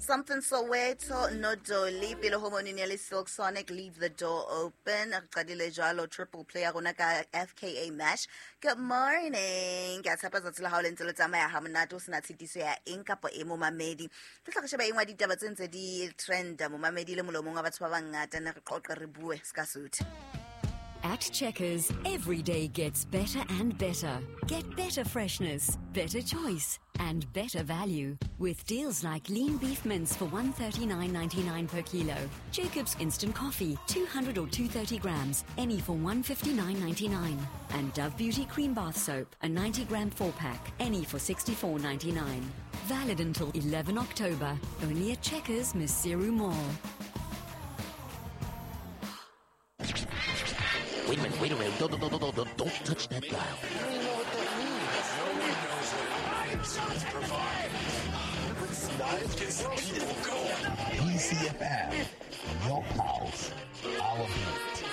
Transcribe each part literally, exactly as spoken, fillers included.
Something Soweto no Dolly pele ho monene le Silk Sonic Leave the Door Open. Re qadile jwalo triple play ya rona ka F K A Mash. Good morning, ke a tshepa tsatsi la hao le ntse le tsamaya ha monate, o sena tshitiso ya eng kapa e, momamedi. Ke tla re sheba engwe ya ditaba tse ntse di trenda, momamedi, le molomong wa batho ba bangata. Ne re qoqe, re bue ska suthe. At Checkers, every day gets better and better. Get better freshness, better choice, and better value. With deals like lean beef mince for one thirty-nine ninety-nine per kilo, Jacob's instant coffee, two hundred or two thirty grams, any for one fifty-nine ninety-nine, and Dove Beauty cream bath soap, a ninety gram four pack, any for sixty-four ninety-nine. Valid until eleven October. Only at Checkers Maseru Mall. Wait a minute, wait a minute. Don't, don't, don't, don't, don't, don't touch that dial. I don't even know what that means. No one knows what it means. Provide. Gets the people going. P C F M, your pulse, our beat.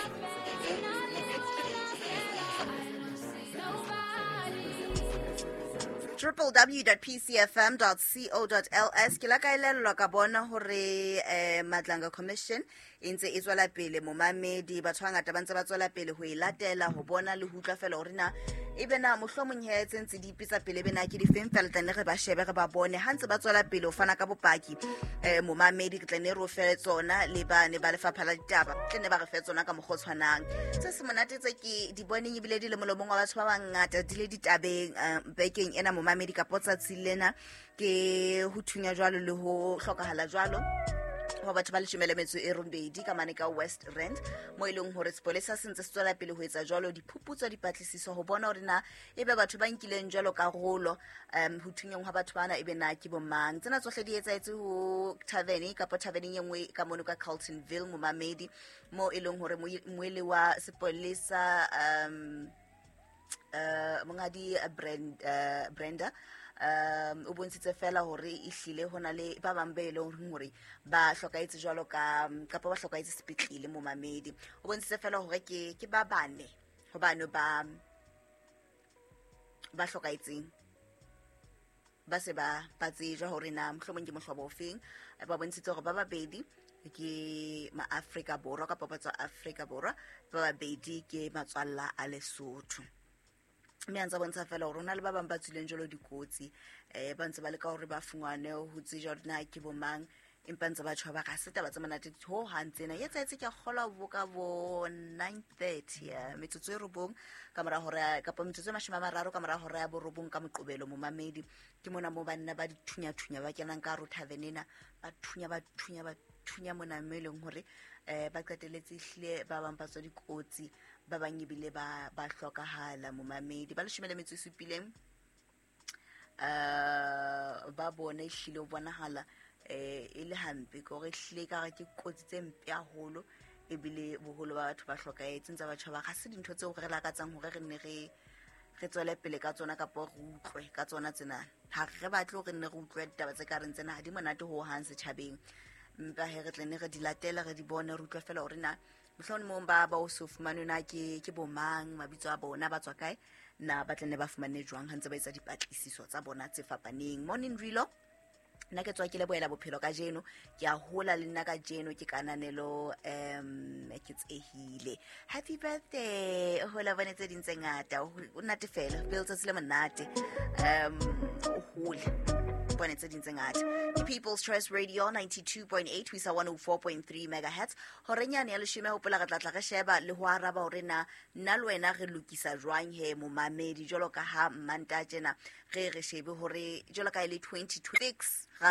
W W W dot P C F M dot co dot L S. Ke la ka elellwa ka bona hore eh, Madlanga Commission e ntse e tswela pele, momamedi. Batho ba bangata ba ntse ba tswela pele ho e latela, ho bona le ho utlwa fela hore na ebe na mohlomong he tse ntse di ipitsa pele ebe na ke difeng fela. Tla ne re ba shebe, re ba bone ha ntse ba tswela pele ho fana ka bopaki, eh, momamedi. Ke tla ne re o fe tsona le ba ne ba lefapha la ditaba, tle ne ba re fe tsona ka mokgwa o tshwanang. Se se monate tse ke di boneng ebile di le molomong wa batho ba bangata, di le ditabeng eh, bekeng ena, momamedi, kapo tsatsi lena, ke ho thunya jwalo le ho hlokahala jwalo ho batho ba leshome le metso e robedi ka mane ka West Rand, mo e leng hore sepolesa se ntse se tswela pele ho etsa jwalo diphuputso, dipatlisiso, ho bona hore na ebe batho ba nkileng jwalo karolo um ho thunyeng hwa batho bana ebe na ke bomang. Tsena tsohle di etsahetse ho tavern kapa taverneng e nngwe ka mono ka Carltonville, momamedi, mo e leng hore moele wa sepolesa, um uh, monghadi Brand, uh, Brenda um o bontshitse fela hore ehlile ho na le ba bang be leng hore ba hlokahetse jwalo ka kapa ba hlokahetse sepetlele, momamedi. O bontshitse fela hore ke ke ba bane hobane ba ba hlokahetseng ba se ba ba tsejwa hore na mohlomong ke mohlobo ofeng. Ba bontshitse hore ba babedi ke maAfrika Borwa kapa ba tswa Afrika Borwa, ba babedi ke matswalla a Lesotho, mme a ntse a bontsha fela hore ho na le ba bang ba tswileng jwalo dikotsi, um ba ntse ba leka hore ba fungwane ho tsejwa hore na ke bo mang, empa ntse ba tjho ba ga se taba tse monate ho hang tsena. E etsahetse, ke a kgolwa, bo ka bo nine thirty, metsotso e robong ka mora hora kapa metsotso e mashome a mararo ka mora hora ya borobong ka Moqobelo, momamedi. Ke mona mo banna ba dithunya-thunya ba kenang ka hare ho tavern ena, ba thunya, ba thunya, ba thunya mona, mo e leng hore um ba qetelletse ehlile ba bang ba tswa dikotsi, ba bang ebile ba ba hlokahala, momamedi. Ba leshome le metso e supileng uh ba bona ehlile ho bonahala eh e le hampe ke hore ehlile ka re ke kotsi tse mpe haholo, ebile boholo ba batho ba hlokahetse. Ntse batho ba ga se dintho tseo re lakatsang hore re nne re re tswele pele ka tsona kapa re utlwe ka tsona tsena. Ha re batle hore nne re utlwe ditaba tse ka reng tsena, ha di monate ho hang setjhabeng, empa he re tle ne re di latele, re di bone, re utlwe fela hore na mohlomong ba ba o so fumanwe na ke ke bomang, mabitso a bona, ba tswa kae, na ba tle ne ba fumane jwang ha ntse ba etsa dipatlisiso tsa bona tse fapaneng. Morning Rilo, nna ke tswa ke lebohela bophelo kajeno, ke a hola le nna kajeno, ke kananelo um ke tsehile. Happy birthday, o hola bone tse ding tse ngata, o nate fela pele letsatsi le monate, um o hole bone tse ding tse ngata. Ke People's Choice Radio ninety-two point eight ho isa one oh four point three megahertz. Horenyane ya leshome, hopola re tla tla re sheba le ho araba hore na nna le wena re lokisa jwang he, momamedi, jwalo ka ha Mmanta tjena re re shebe hore jwalo ka e le twenty twenty-six ra